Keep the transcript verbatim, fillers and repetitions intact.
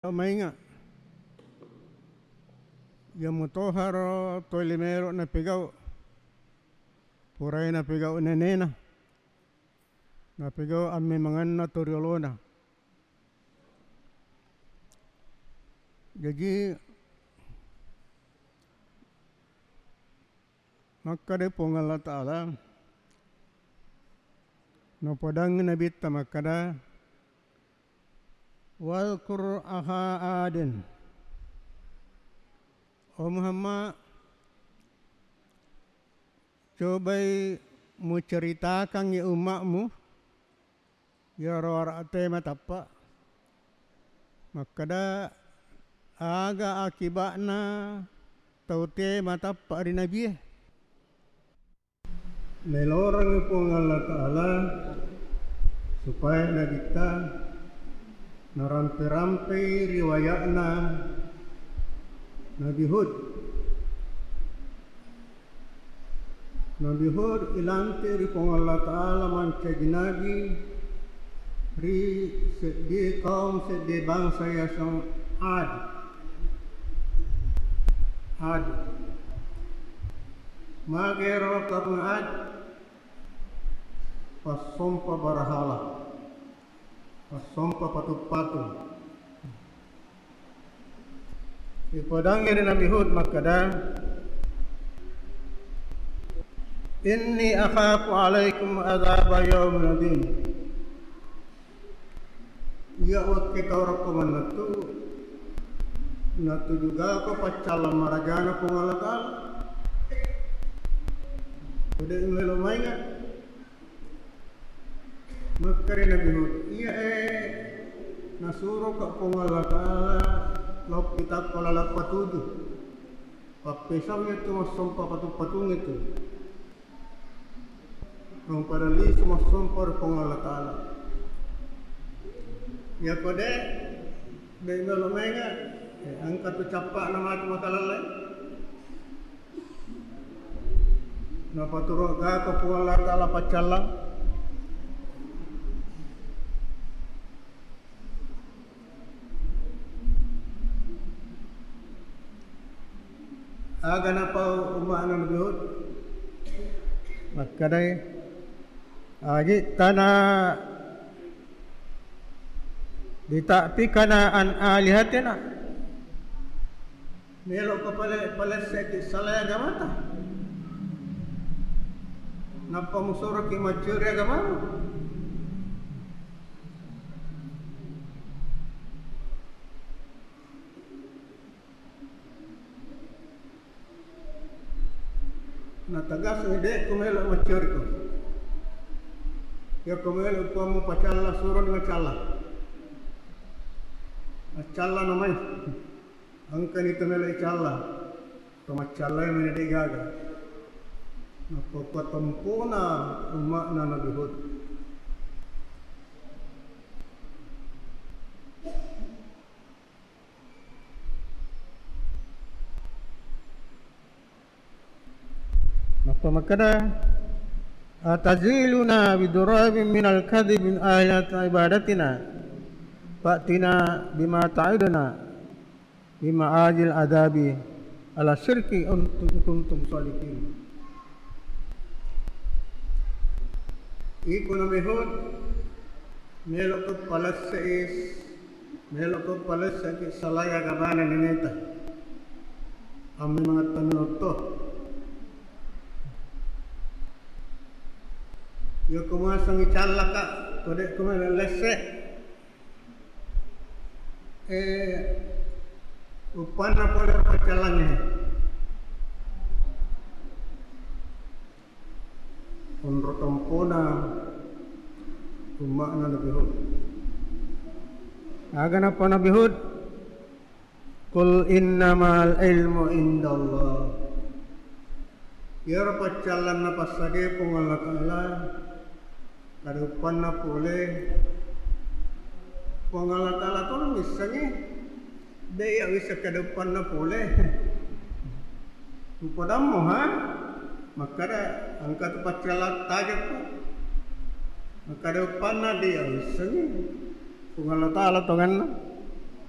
Mainga, iya mutoharo toli melo napegau, purai napegau nenena, napegau ammemangenna toriolona. Jaji, makkeda Puang Allah Ta'ala, napodangngi Nabitta makkeda, "Wadhkur akha Adin." Oh Muhammad, cobai muceritakangngi ummatmu, iyaro ara'te matappa, makkeda, aga akiba'na tau te matappa ri nabie? Melorengngi Puang Allah Ta'ala supaya Nabitta narampe-rampei riwaya'na Nabi Hud. Nabi Hud ilantik ri Puang Allah Ta'ala mancaji nabi ri seddie kaum, seddie bangsa yaseng Ad. Ad. Magero kaum Ad? Passompa barahala, passompa patu-patu. Ipodangngi ri Nabi Hud makkeda, "Inni akhafu alaikum adzaba yaumin adzim." Iya wekke tau rekko mannettu, natujugako paccallang marajana Puang Allah Ta'ala. Ko de' melo mainga. Makkeda Nabi Hud, iya e, nasuroka Puang Allah Ta'ala lao pi tappa laleng patuju. Pappesau'i tu massompa patu-patungnge tu. Rong pada lisu massompa ri Puang Allah Ta'ala. Iya ko de', de' melo mainga, eh, engka tu cappa'na matu makalalle. Napaturo gako Puang Allah Ta'ala paccallang. Aga napau umma'na Nabi Hud? Makkedai, "Aji'tana lita'fikana an alihatina." Melo'ko pale-, palesseki salai agamata? Nappa musuroki maccuri agamamu? Natagasengngi, de'ko melo maccuriko. Iyako melo Puammu pacalla, suroni macalla. Maccalla namai. Engkani to melo icalla. To maccallai meni de'gaga. Nappa patempona umma'na Nabi Hud. Nappa makkeda, "Ataziluna bidurabin minal kadhibi min alihati ibadatina, fa'tina bima ta'iduna min ma'ajil adzabi ala syirki in kuntum shadiqin." Iko Nabi Hud, melo'ko palesse'i, melo'ko palesse'ki salai agamana neneta. Ammemang attanna otto. Iyako muasengngi callaka, ko de'ko melo lesse. Eh, uppanna pole paccallangnge. Onro tompona umma'na Nabi Hud. Aga nappa Nabi Hud? "Qul innamal ilmu indallah." Iyaro paccallanna passadia Puang Allah Ta'ala, kada uppanna pole. Puang Allah Ta'ala tolo missengngi, de' iya wisseng kada uppanna pole. Upodammo ha? Makkada engka tu paccallang tajeppu. Makkada uppanna de' iya wissengngi. Puang Allah Ta'ala tongenna.